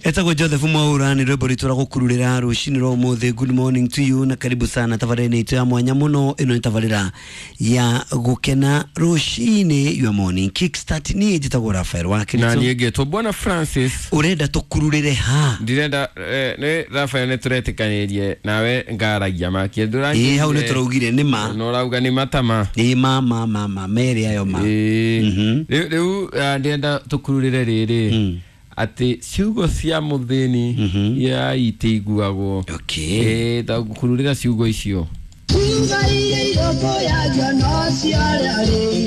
Etagwo Joseph Mwaura nä rwĩmbo rwitũ rwa gũkururĩra rũcinĩ rwa ũmũthĩ. Good morning to you na karibu sana tabarĩra-inĩ itũ ya mwanya mũno. Ĩno nĩ tabarĩra ya gũkena rũcinĩ, your morning kickstart. Niĩ njĩtagwo Rafael wa Na Kiritu. niä ngätwo Bwana Francis. Ũrenda tũkururĩre ha? Ndirenda nä Rafael nä tå retäkanä rie nawe ngaragia makie. Ĩĩ, hau nĩ tũraugire nĩ ma. No rauga nä matama. Ĩĩ, ma ma ma ma merĩ ayo ma. Rä u ndĩrenda tå kururä re rä rä atä ciugo cia må thä ni ya itä iguagwo. Okay. Kururä ra ciugo icio.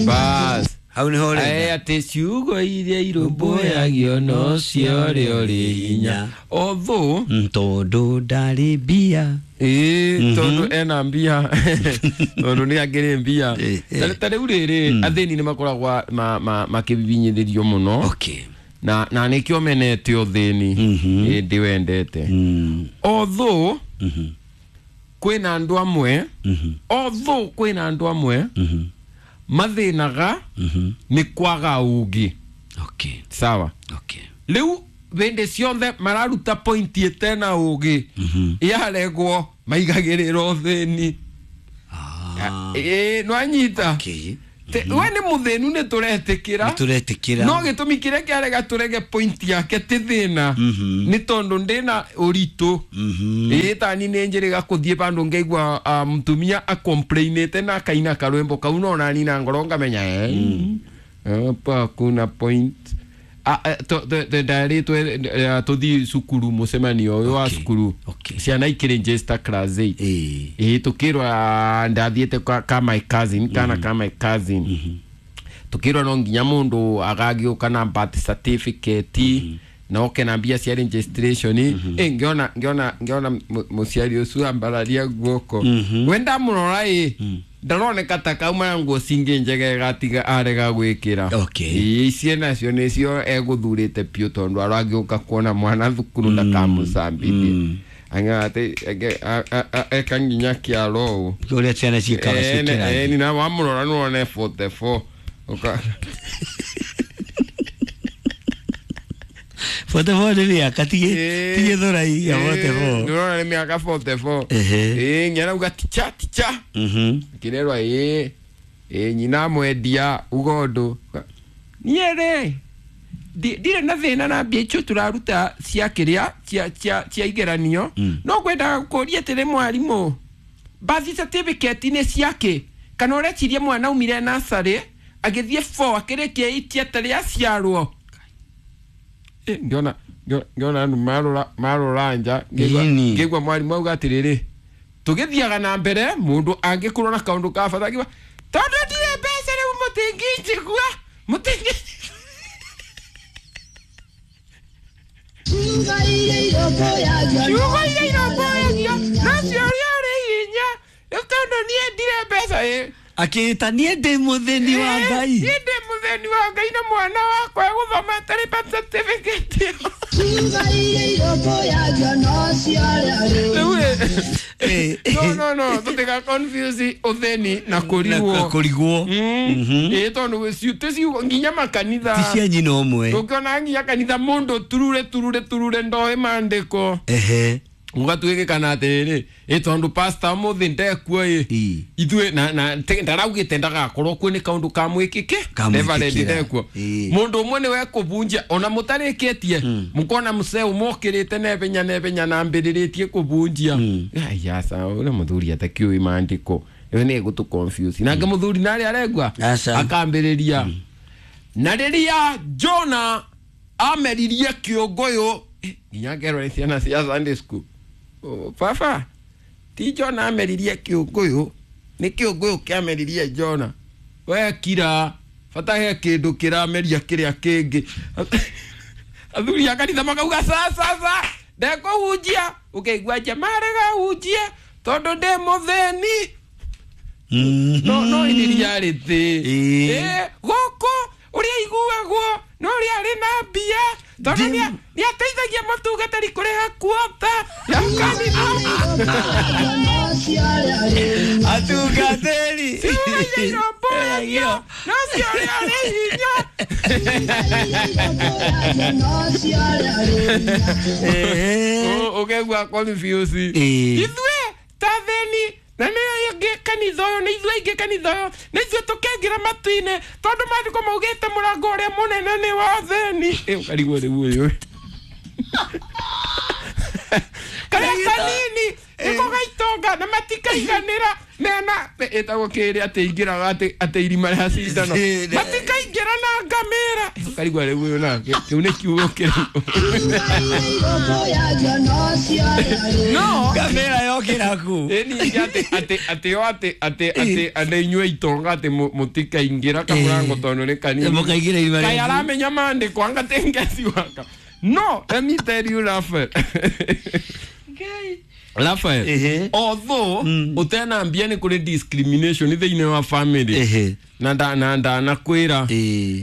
Bas. Hau nĩho ũrenda. Atä ciugo iria irũmbũyagio no ciore ũrĩ hinya although Tondũ ndarĩ mbia. Ĩĩ, tondũ ena mbia, tondũ nĩ angĩrĩ mbia. Ta rĩu rĩrĩ athĩni nĩ makoragwo makĩbibinyithĩrio mũno. Okay. Na nĩkĩo menete ũthĩni. Ĩ, ndĩwendete although kwĩna andũ amwe, although kwĩna andũ amwe mathĩnaga nĩ kwaga ũngĩ. Okay. Sawa. Okay. Rĩu hĩndĩ ciothe mararuta point ĩtena ũgĩ, yaregwo maigagĩrĩra ũthĩni. Ah. Ĩĩ, nĩwanyita. Okay. We nĩ mũthĩnu, nĩ tũretĩkĩra. Nĩ tũretĩkĩra. No gĩtũmi kĩrĩa kĩarega tũrege point yake ti thĩna nĩ tondũ ndĩna ũritũ. Ĩĩ, tani nĩ njĩrĩga kũthiĩ bandũ ngaigua mũtumia acomplainĩte na akaina karwĩmbo kau, no nani na ngoro ngamenya hapa kuna point. Ndarĩtwe tũthiĩ cukuru mũcemanio ũyũ wa Okay. cukuru. Okay. Ciana ikĩrĩnjĩsta class 8. Ĩĩ. Ĩĩ, tukirwa ndathiĩte ka my cousin, kana ka my cousin, tukirwa no nginya mundu agagĩũka na birth certificate na oke na mbia cia registration. Ĩ, ngĩona mũciari ũcio ambararia guoko, we ndamũrora, ĩ ndaroneka ta kauma na nguo cingĩ njega gatiga arega gwĩkĩra. Okay. Ĩĩ, icio nacio nĩcio egũthurĩte biũ tondũ aragĩũka kuona mwana thukuru ndakamũcambithie ang'ate eka nginya kĩaro ũũ. Ũrĩa ciana ciĩkaga ciĩkĩra. Nina wamũrora nĩwone 44. 44 nĩ mĩaka tigĩ thũrai ya 44. Nĩũrona nĩ mĩaka 44. Ehe. Ĩĩ, nginya ticha ticha. Kĩrerwa ĩĩ ĩĩ nyina mwendia uga ũndũ niĩ rĩ ndirĩ na thĩna na mbia icio tũraruta cia kĩrĩa cia igeranio, no ngwendaga gũkũria atĩrĩ, mwarimũ, birth certificate nĩ ciakĩ? Kana ũreciria mwana aumire nasarĩ agĩthiĩ 4 akĩrĩkia 8 atarĩ aciarwo? Ngĩona andũ marora nja Ĩni. ngĩigua mwarimũ auga atĩrĩrĩ, tũgĩthiaga na mbere mũndũ angĩkorwo na kaũndũ ka bata akiuga tondũ ndirĩ mbeca rĩu mũtingĩnjigua mũtingĩ. Ciugo iria irũmbũyagio no ciũria ũrĩ hinya rĩu tondũ niĩ ndirĩ mbeca ĩ. Akĩĩta niĩ ndĩ mũthĩni wa Ngai. Niĩ ndĩ mũthĩni wa Ngai na mwana wakwa egũthoma atarĩ birth certificate ĩyo. Rĩu ĩ, no tũtiga confuse ũthĩni na Na kũrigwo. kũrigwo. Ĩ, tondũ ti ciugo nginya makanitha. Ti cia nyina ũmwe. Ũngĩona nginya kanitha mũndũ turure turure turure ndoĩ maandĩko. Ehe. Ũgatuĩkĩkana atĩrĩrĩ, ĩ tondũ pastor ũmũthĩ ndekuo ĩ. Ĩ. Ithuĩ na ndaraugĩte ndagakorwo kuo nĩ kaũndũ kamwĩkĩke. Kamwĩkĩkĩra. Reverend ndekuo. Ĩ. Mũndũ ũmwe nĩwe kũbunjia ona mũtarĩkĩtie mũkona mũcee ũmokĩrĩte nebenya nebenya na ambĩrĩrĩtie kũbunjia. Aca ũrĩa mũthuri atakĩũĩ maandĩko ĩyo nĩ ĩgũtũ confuse nake mũthuri narĩ aregua Aca. akambĩrĩria na rĩrĩa Jona ameririe kĩũngũyũ. Nginya ngerwo nĩ ciana cia Sunday school. Oh, baba ti Jona ameririe kĩũngũyũ, nĩ kĩũngũyũ kĩameririe Jona. We kira bata he kĩndũ kĩrameria kĩrĩa kĩngĩ. Athuri a kanitha makauga ca ca ca ndekũhunjia, ũkaigua nja marega hunjie tondũ ndĩ mũthĩni. No iria rĩ thĩ. Ĩĩ. Ĩ, gũkũ ũrĩa iguagwo no ũrĩa arĩ na mbia tondũ nĩateithagia mũtungatĩri kũrĩha kuota ya kanitha. Atungatĩri. Ciũragia irũmbũyagio no cia ũrĩa ũrĩ hinya. Ũkaigua confuse. Ithuĩ ta thĩni na nĩ aingĩ kanitha ũyũ, nĩ ithuĩ aingĩ kanitha ũyũ, nĩ ithuĩ tũkĩingĩra matu-inĩ tondũ maandĩko maugĩte mũrango ũrĩa mũnene nĩ wa thĩni. Ũkarigwo rĩu ũyũ karĩa kanini nĩko gaitonga na matikaiganĩra mena ĩtagwo kĩrĩ atĩ ingĩraga atĩ irima rĩa cindano matikaingĩra na ngamĩra. Ũkarigwo rĩu ũyũ nake kĩu nĩ kiugo kĩrĩkũ? No Ngamĩra yokĩra kũ? Ĩni atĩ atĩ atĩ o atĩ atĩ atĩ andũ inyuĩ itonga atĩ mũtikaingĩra kamũrango tondũ nĩ kanini. Mũkaingĩra irima rĩa Kaĩ aramenya maandĩko anga tengeci waka. No let me tell you, Raphael, Raphael, although utena mbia nĩ kũrĩ discrimination thĩinĩ wa family. Na ndanakwĩra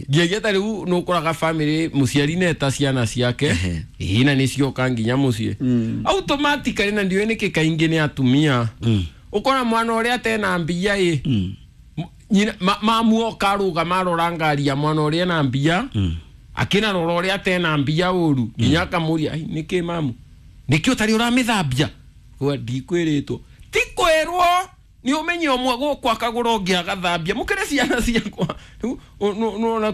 ngiagia ta rĩu nĩ ũkoraga family mũciari neta ciana ciake. Ĩĩ, na nĩ cioka nginya mũciĩ automatically, na ndiũĩ nĩkĩ kaingĩ nĩ atumia. Ũkora mwana ũrĩa atena mbia ĩ nyina mamuoka arũgama arora ngari ya mwana ũrĩa ena mbia, akĩnarora ũrĩa atena mbia ũru nginya akamũria, "Ai, nĩkĩ mamu, nĩkĩ ũtarĩ ũramĩthambia?" Gwa ndikwĩrĩtwo, ti kwĩrwo nĩ ũmenye ũmwe gũkũ akagũra ũngĩ agathambia mũkĩrĩ ciana ciakwa. Rĩu nĩwona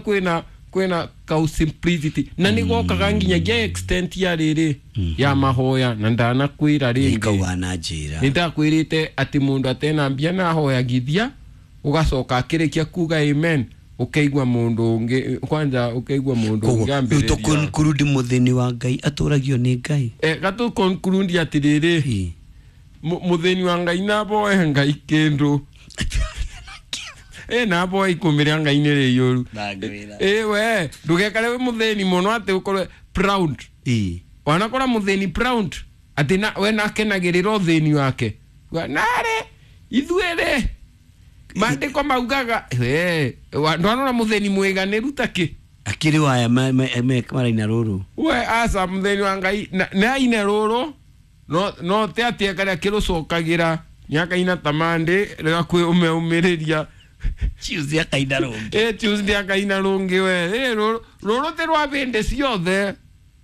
kwĩna kau simplicity na nĩ gokaga nginyagia extent ya rĩrĩ ya mahoya, na ndanakwĩra rĩngĩ. Nĩkauga na njĩra. Nĩ ndakwĩrĩte atĩ mũndũ atena mbia na ahoyagithia ũgacoka akĩrĩkia kuga amen ũkaigua mũndũ ũngĩ kwanja ũkaigua mũndũ Koguo ũngĩ rĩu ambĩrĩria. tũkonkurudi mũthĩni wa Ngai atũragio nĩ Ngai. Gatũ conclude atĩrĩrĩ, mũthĩni wa Ngai naboe Ngai kĩndũ naboe ikũmi rĩa Ngai nĩ rĩiyũru. Ndangwĩra. We ndũgekare wĩ mũthĩni mũno atĩ ũkorwe proud. Wanakora mũthĩni proud atĩ na, we nakenagĩrĩra ũthĩni wake. Narĩ ithuĩ rĩ maandĩko maugaga ndwanona mũthĩni mwĩganĩru takĩ. Akĩrĩ waya maraina rũrũ. We aca mũthĩni wa Ngai nĩ aine rũrũ no te atĩ karĩa kĩrũcokagĩra nĩakaina ta mandĩ rĩgakwĩ ũmeũmĩrĩria. Tuesday akaina rũngĩ. Tuesday akaina rũngĩ we. Rũrũ rũrũ ti rwa bĩndĩ ciothe,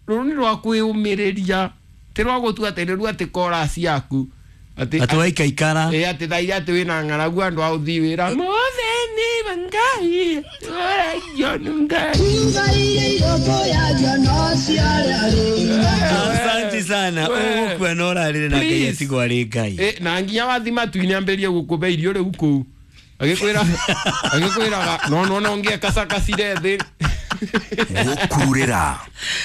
rũrũ nĩ rwa kwĩũmĩrĩria, ti rwa gũtua atĩ rĩu atĩ korasi yaku atĩ Atĩ waikaikara. Atĩ thaira atĩ wĩna ng'aragu andũ a ũthiĩ wĩra mũthĩni wa Ngai ũragio nĩ Ngai. Asante sana. We. Ũgũkua na ũrarĩre na Ngai Please. atigwo arĩ Ngai. Na nginya wathi matu-inĩ ambĩrĩrie gũkũbe irio rĩu kũu agĩkwĩra agĩkwĩraga no no no ngĩekacakacire thĩ. Gũkururĩra.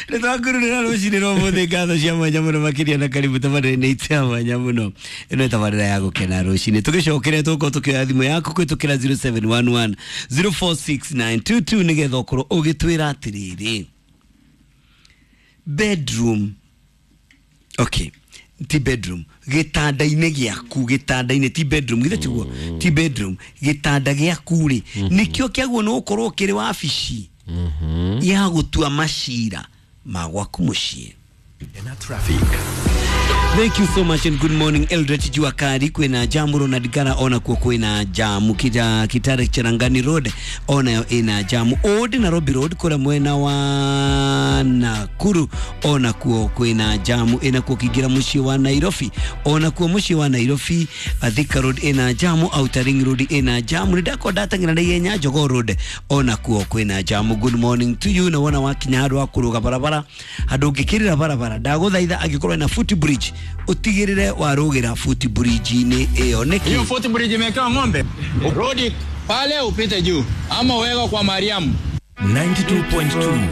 Nĩ twakururĩra rũcinĩ rwa ũmũthĩ, ngatho cia mwanya mũno makĩria na karibu tabarĩra-inĩ itũ ya mwanya mũno. Ĩno nĩ tabarĩra ya gũkena rũcinĩ. Tũgĩcokere tũgũkorwo tũkĩoya thimũ yaku kũhĩtũkĩra 0711 046922 nĩgetha ũkorwo ũgĩtwĩra atĩrĩrĩ, bedroom, okay, ti bedroom, gĩtanda-inĩ gĩaku, gĩtanda-inĩ, ti bedroom, githĩ tiguo? Ti bedroom, gĩtanda gĩaku rĩ, nĩkĩo kĩagwo nĩ gũkorwo kĩrĩ wabici ya gũtua macira ma gwaku mũciĩ. Na traffic. Thank you so much and good morning. Eldoret jua kali, kwina jamu. Ronald Gara ona kuo kwina jamu. Kitare Cherangani Road onayo ina jamu. Old Nairobi Road kura mwena wa Nakuru ona kuo kwina jamu. Ina kuo kigira muciĩ wa Nairobi, ona kuo muciĩ wa Nairobi Thika Road ina jamu, Outer Ring Road ina jamu. Nĩndakwa ndateng'era na ihenya Jogoo Road ona kuo kwina jamu. Good morning to you. Na wona wakinya handũ ha kũrũga barabara, handũ ũngĩkĩrĩra barabara, ndagũthaitha angĩkorwo ina foot bridge ũtigĩrĩre warũgĩra foot bridge-inĩ ĩyo. Nĩkĩ? Hiyo foot bridge imewekewa ng'ombe, rudi pale upite juu ama uwekwe kwa Mariamu. 92.2.